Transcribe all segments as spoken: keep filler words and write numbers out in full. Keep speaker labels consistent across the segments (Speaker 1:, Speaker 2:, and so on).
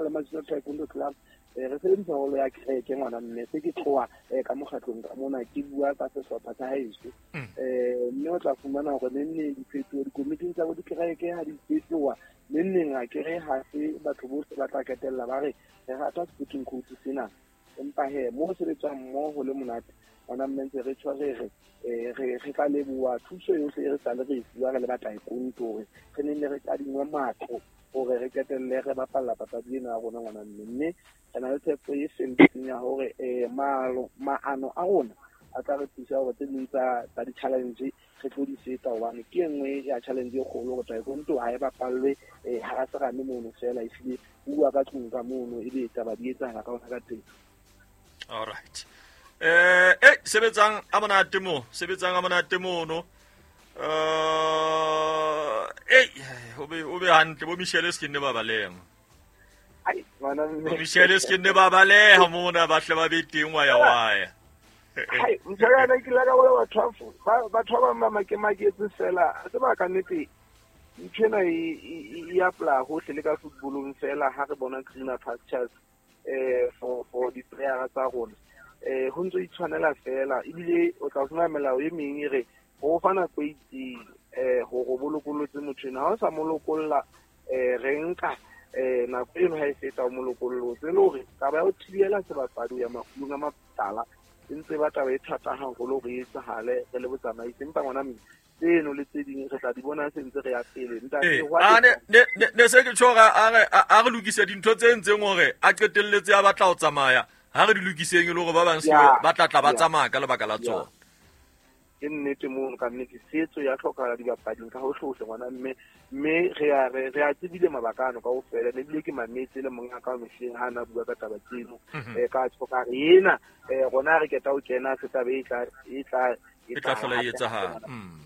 Speaker 1: tshwana le Matsina Taekwondo Club eh re sebedisa holo ya kereke ngwana mme se ke tloha ka mokgatlong ka mona ke bua ka sehlopha sa haeso eh mme o tla fumana hore neng diphetoho dikomiting tsa bo dikereke ha di fetoha neng neng a kere ha se batho bohle ba tla ketella ba re re rata sporting coach sena empa he mo sebetsang mmoho le monate ngwana mme ntse re tshwarege eh re re tla leboha thuso yohle e re sale re e fuwa re le ba taekwondo hore re nne re kadingwe matlo hore re qetelle re bapalla papadi ena ya rona ngwana mme mme re na le tshepo e felletseng ya hore eh malo maano a rona a tla re thusa hore tse ding tsa tsa di-challenge re tlo di feta hobane ke e nngwe ya challenge e kgolo hore taekwondo ha e bapallwe eh hara serame mono fela ehlile bua ka tlung ka mono ebe taba di etsahala ka hona ka teng.
Speaker 2: All right. Eh eh sebetsang a monate mo sebetsang a monate mono eh eh o be o be hantle bo Michelle se ke ne ba baleha
Speaker 1: ai ngwana
Speaker 2: bo Michelle se ke ne ba baleha mona ba hle ba be teng wa ya wa ya
Speaker 1: ai mtshana ke la ka bona batho ba batho ba ba makemaketse fela se ba ka nnete ntho ena e e apply hohle le ka footballong fela ha re bona greener pastures eh for for di player tsa rona eh ho ntso itshwanela fela ebile o tla fumana melao e meng e re ho fa nako e itseng eh hore o bolokollotse motho ena ha o sa mo lokolla eh re nka eh nako eno ha e feta o mo lokollotse le hore taba ya ho thibela sebapadi ho ya makgulong a matala e ntse ba taba e thata haholo hore e etsahale re le botsamaisi empa ngwana mme tseno le tse ding re tla di bona se ntse re ya pele ntate
Speaker 2: a ne ne ne se ke tjhora a re a re lokise dintho tse ntseng hore a qetelletse a batla ho tsamaya ha re di lokiseng e le hore ba bang se ba tla tla ba tsamaya ka lebaka la tsona
Speaker 1: ke nnete mono ka nnete setso ya hlokahala dibapading ka hohle hohle ngwana mme mme re a re re a tsebile mabaka ano kaofela ne ebile ke mametse le monga ka mehleng ha na bua ka taba tseno eh ka tjho ka re ena eh rona re keta ho kena se taba e tla e tla
Speaker 2: e tla hlola e etsahala mm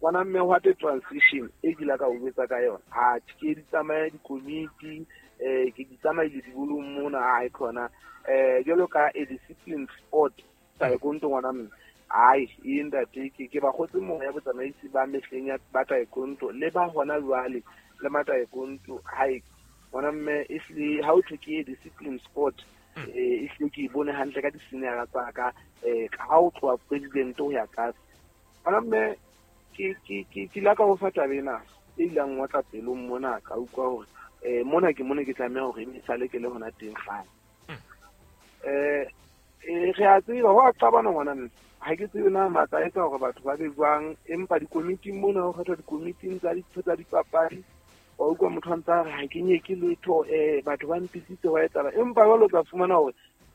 Speaker 1: ngwana mme hwa te transition e ke la ka o betsa ka yona ha ke di tsamaya dikomiti eh ke di tsamaile dibolong mona ha e khona eh jwalo ka a discipline sport taekwondo ngwana mme ai e ntate ke ke ba kgotse moya botsamaisi ba mehleng ya ba taekwondo le ba hona jwale le ma taekwondo hai ngwana mme ehlile ha o thwe ke discipline sport eh ehlile ke bone hantle ka di-senior tsa ka eh ha o tloha president ho ya tlase ngwana mme ke ke ke ke la ka ho fa taba ena e ilang wa tla pelong mona ka utlwa hore eh mona ke mona ke tlameha hore e sale ke le hona teng kgale eh re a tseba ho a qabana ngwana mme ha ke tsebe na matla a etsa hore batho ba be jwang empa dikomiting mona ho kgethwa dikomiting tsa ditho tsa dipapadi wa utlwa motho a ntse a re ha ke nyeke letho eh batho ba mpisitse wa etsahala empa jwale o tla fumana hore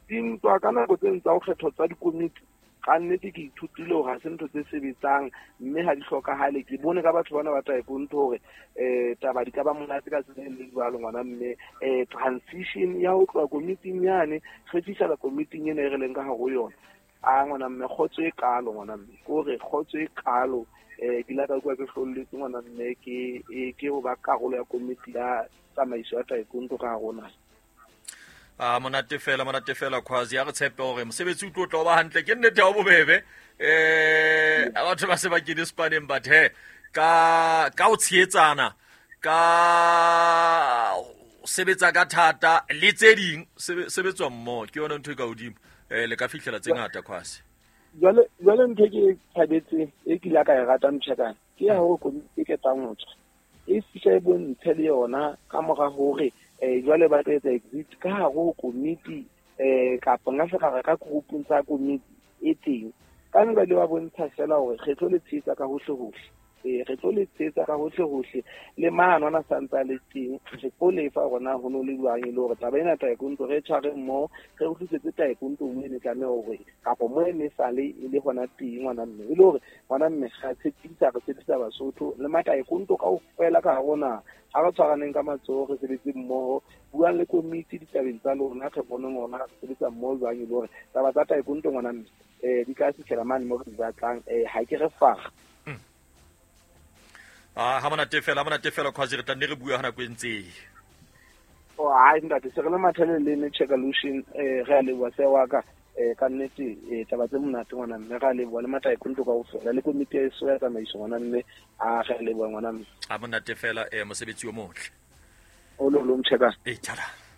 Speaker 1: dintwa ka nako tse tsa ho kgethwa tsa dikomiti ka nnete ke ithutile hore ha se ntho tse sebetsang mme ha di hlokahale ke bone ka batho bana ba taekwondo hore eh taba di ka ba monate ka tsela e le jwalo ngwana mme eh transition ya ho tloha komiting yane re fihlela komiting ena e re leng ka hare ho yona a ngwana mme kgotso e kalo ngwana mme ke hore kgotso e kalo eh ke la ka kwa ke hlolletse ngwana mme ke ke ho ba karolo ya komiti ya tsamaiso ya taekwondo ka hare ho naha.
Speaker 2: A monate fela monate fela Khwazi ya re tshepe hore mosebetsi o tlo tla ba hantle ke nnete ha bobebe eh batho ba se ba kene spaneng but he ka ka o tshehetsana ka sebetsa ka thata le tse ding sebetswa mmoho ke yona ntho e ka hodimo eh le ka fihlela tse ngata Khwazi.
Speaker 1: Jwale jwale ntho ke thabetse e ke la ka e rata mtshekana ke ya hore komiti e ketang ho tswa e fihla e bontshe le yona ka mora hore eh jwale ba tla etsa exit ka hare ho komiti eh kapa nka se ka ka groupung tsa komiti e teng ka nka le ba bontsha fela hore re tlo le tshehetsa ka hohle hohle eh re tlo le tshehetsa ka hohle hohle le maano ana santsa le teng re tlo lefa rona ho no le jwang e le hore taba ena taekwondo re tshware mmoho re utlwisetse taekwondo mo e ne tlameha hore kapa mo e ne sale e le hona teng ngwana mme e le hore ngwana mme ga tshepisa re tshepisa Basotho le mataekwondo kaofela ka hare ho naha ha re tshwaraneng ka matsoho re sebetse mmoho buang le komiti ditabeng tsa lona re boneng hore re sebetsa mmoho jwang e le hore taba tsa taekwondo ngwana mme eh di ka fihlela mane mo re di batlang eh ha ke re fara
Speaker 2: ah ha monate fela ha monate fela Khwazi re tla nne re bua ha nako e ntse
Speaker 1: oh ai ntate se re le mathale le ne check-alution eh re a leboha se wa ka eh ka nnete eh taba tse monate ngwana mme re a leboha le mataekwondo kaofela le komiti ya eso ya tsamaiso ngwana mme a re a leboha ngwana mme
Speaker 2: ha monate fela eh mosebetsi o motle
Speaker 1: o lo lo mcheka
Speaker 2: eh tjala.